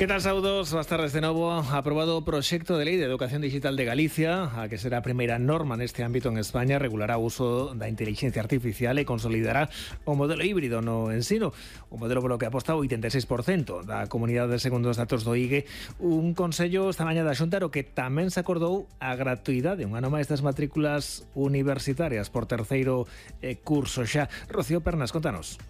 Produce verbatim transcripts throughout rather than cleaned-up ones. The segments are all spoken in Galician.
Que tal, saudos? Boas tardes de novo. Aprobado o proxecto de lei de educación digital de Galicia, a que será a primeira norma neste ámbito en España, regulará o uso da inteligencia artificial e consolidará o modelo híbrido no ensino. O modelo polo que aposta o oitenta e seis por cento da comunidade segundo os datos do I G E. Un consello esta mañá da Xunta o que tamén se acordou a gratuidade, un ano máis das matrículas universitarias por terceiro eh, curso xa. Rocío Pernas, contanos.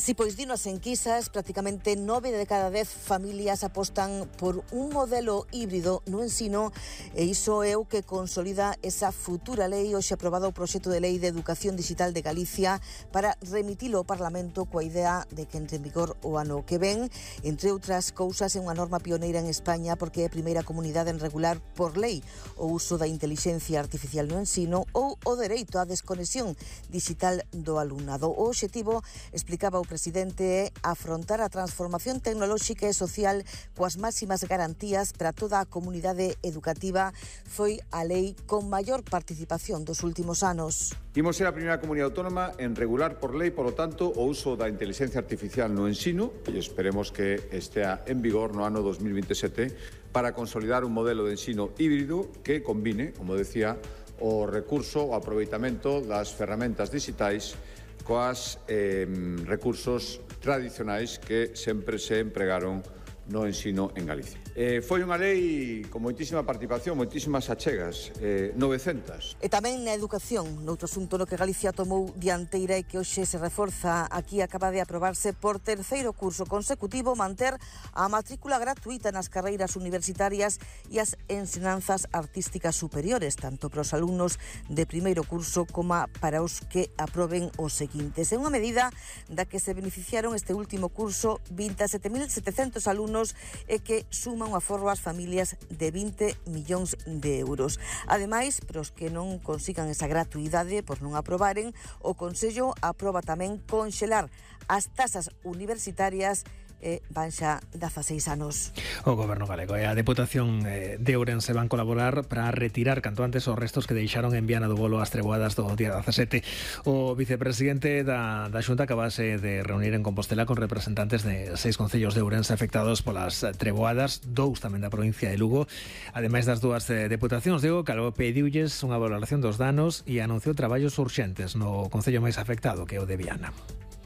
Si, pois dinos enquisas, prácticamente nove de cada dez familias apostan por un modelo híbrido no ensino e iso é o que consolida esa futura lei. Hoxe aprobado o proxecto de lei de educación digital de Galicia para remitilo ao Parlamento coa idea de que entre en vigor o ano que ven. Entre outras cousas, é unha norma pioneira en España porque é a primeira comunidade en regular por lei o uso da inteligencia artificial no ensino ou o dereito á desconexión digital do alumnado. O obxectivo, explicaba o presidente, é afrontar a transformación tecnolóxica e social coas máximas garantías para toda a comunidade educativa. Foi a lei con maior participación dos últimos anos. Imos ser a primeira comunidade autónoma en regular por lei, polo tanto, o uso da inteligencia artificial no ensino e esperemos que estea en vigor no ano dos mil veintisiete para consolidar un modelo de ensino híbrido que combine, como decía, o recurso, o aproveitamento das ferramentas digitais coas eh, recursos tradicionais que sempre se empregaron no ensino en Galicia. Eh, foi unha lei con moitísima participación, moitísimas achegas, eh, novecentas. E tamén na educación, noutro asunto no que Galicia tomou dianteira e que hoxe se reforza, aquí acaba de aprobarse por terceiro curso consecutivo manter a matrícula gratuita nas carreiras universitarias e as ensinanzas artísticas superiores, tanto para os alumnos de primeiro curso como para os que aproben os seguintes. É unha medida da que se beneficiaron este último curso vinte e sete mil setecentos alumnos e que suma un aforro ás familias de vinte millóns de euros. Ademais, para os que non consigan esa gratuidade por non aprobaren, o Consello aproba tamén conxelar as tasas universitarias e van xa dezaseis anos. O Goberno galego e a Deputación de Ourense van colaborar para retirar canto antes os restos que deixaron en Viana do Bolo as treboadas do día dezasete. O vicepresidente da, da Xunta acabase de reunir en Compostela con representantes de seis concellos de Ourense afectados polas treboadas, dous tamén da provincia de Lugo. Ademais das dúas deputacións, Diego Calvo pediulles unha valoración dos danos e anunciou traballos urxentes no concello máis afectado, que é o de Viana.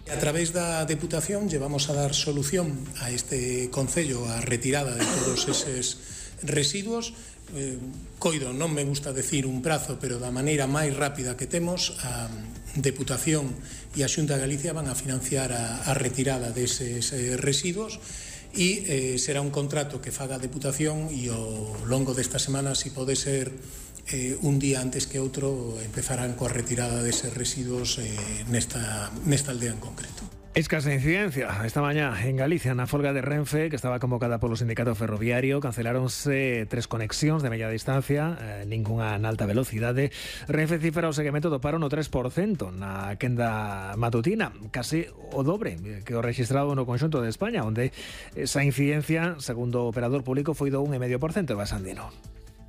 A través da Deputación llevamos a dar solución a este concello a retirada de todos eses residuos. Eh, coido, non me gusta decir un prazo, pero da maneira máis rápida que temos, a Deputación e a Xunta de Galicia van a financiar a, a retirada deses eh, residuos e eh, será un contrato que faga a Deputación e ao longo desta semana, se pode ser Eh, un día antes que outro, empezarán coa retirada deses residuos eh, nesta, nesta aldea en concreto. Escasa incidencia esta mañá en Galicia na folga de Renfe, que estaba convocada polo sindicato ferroviario. Canceláronse tres conexións de media distancia, eh, ningunha na alta velocidade. Renfe cifra o seguimento do paro no tres por cento na quenda matutina, case o dobre que o registrado no conxunto de España, onde esa incidencia, segundo o operador público, foi do un vírgula cinco por cento. Basandino.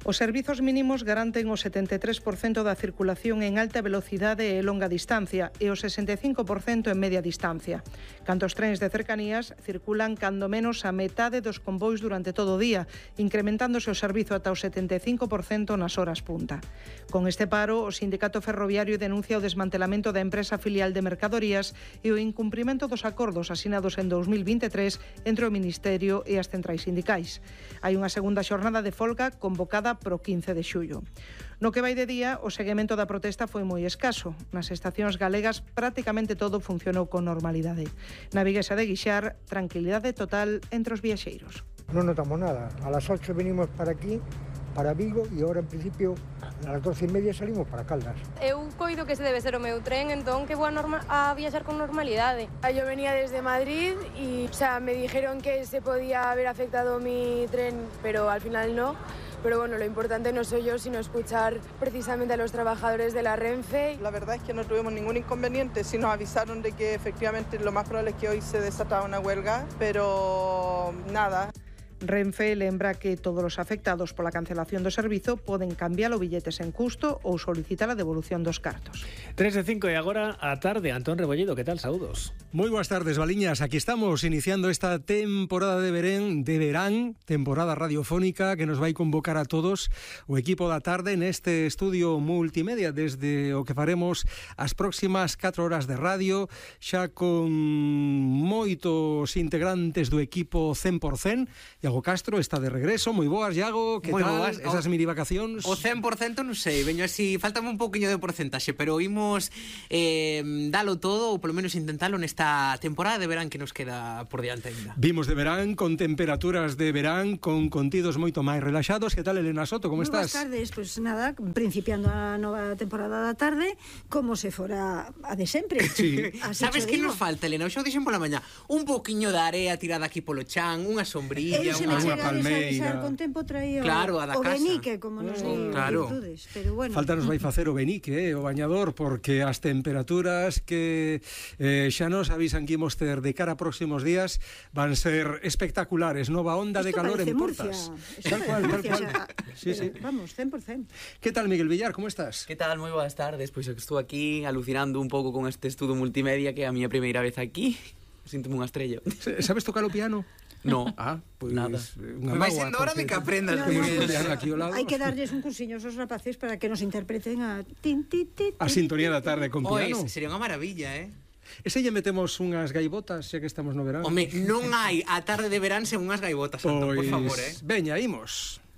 Os servizos mínimos garanten o setenta e tres por cento da circulación en alta velocidade e longa distancia e o sesenta e cinco por cento en media distancia. Canto os trens de cercanías circulan cando menos a metade dos convois durante todo o día, incrementándose o servizo ata o setenta e cinco por cento nas horas punta. Con este paro, o sindicato ferroviario denuncia o desmantelamento da empresa filial de mercadorías e o incumprimento dos acordos asinados en dous mil vinte e tres entre o Ministerio e as centrais sindicais. Hai unha segunda xornada de folga convocada pro quince de xullo. No que vai de día, o seguimento da protesta foi moi escaso. Nas estacións galegas prácticamente todo funcionou con normalidade. Na viguesa de Guixar, tranquilidade total entre os viaxeiros. Non notamos nada. A las ocho venimos para aquí, para Vigo, e agora en principio a las doce e media salimos para Caldas. Eu coido que ese debe ser o meu tren, entón que vou a, norma- a viaxar con normalidade. Yo venía desde Madrid y o sea, me dijeron que se podía haber afectado mi tren, pero al final no. Pero bueno, lo importante no soy yo, sino escuchar precisamente a los trabajadores de la Renfe. La verdad es que no tuvimos ningún inconveniente, sí nos avisaron de que efectivamente lo más probable es que hoy se desataba una huelga, pero nada. Renfe lembra que todos os afectados pola cancelación do servizo poden cambiar o billetes en custo ou solicitar a devolución dos cartos. tres de cinco e agora a tarde. Antón Rebolledo, que tal? Saúdos. Moi boas tardes, Valiñas. Aquí estamos iniciando esta temporada de verán, de verán, temporada radiofónica que nos vai convocar a todos o equipo da tarde neste estudio multimedia desde o que faremos as próximas catro horas de radio, xa con moitos integrantes do equipo cen por cen. Iago Castro está de regreso. Moi boas, Iago, que Moi tal boas. esas mini vacacións? O cen por cento non sei, veño así, faltame un pouquiño de porcentaxe, pero imos eh, dalo todo, ou polo menos intentalo nesta temporada de verán que nos queda por diante ainda. Vimos de verán, con temperaturas de verán, con contidos moito máis relaxados. Que tal, Elena Soto, como Muy estás? Boas tardes, pois pues nada, principiando a nova temporada da tarde, como se fora a de sempre. Sí. Sabes que nos falta, Elena? Xa o dixen pola mañá, un pouquiño de area tirada aquí polo chan, unha sombrilla, Eu se me unha chega a palmeira. desavisar con tempo traía Claro, a da o casa. benique, como nos di claro. virtudes, pero bueno. Falta nos vai facer o benique, eh, o bañador, porque as temperaturas que eh, xa nos avisan que imos ter de cara a próximos días van ser espectaculares. Nova onda de Esto calor parece en Murcia. Portas. Esto Tal cual, tal parece cual. Murcia, o sea, Sí, sí. Vamos, cen por cen. Que tal, Miguel Villar, como estás? Que tal? Moi boas tardes. Pois eu que estou aquí alucinando un pouco con este estudo multimedia que é a miña primeira vez aquí. Síntome unha estrella. Sabes tocar o piano? No. Ah, pois nada. unha Me vai mágoa, sendo hora de porque- que aprendas, No, Miguel. no, piano aquí ao lado. Hai que darlles un cursiño aos rapaces para que nos interpreten a tin, tin, tin, A sintonía da tarde con Pois, piano. sería unha maravilla, eh? Ese lle metemos unhas gaivotas, xa que estamos no verán. Home, non hai a tarde de verán sen unhas gaivotas, Antón, por Pois, favor, eh? veña, imos.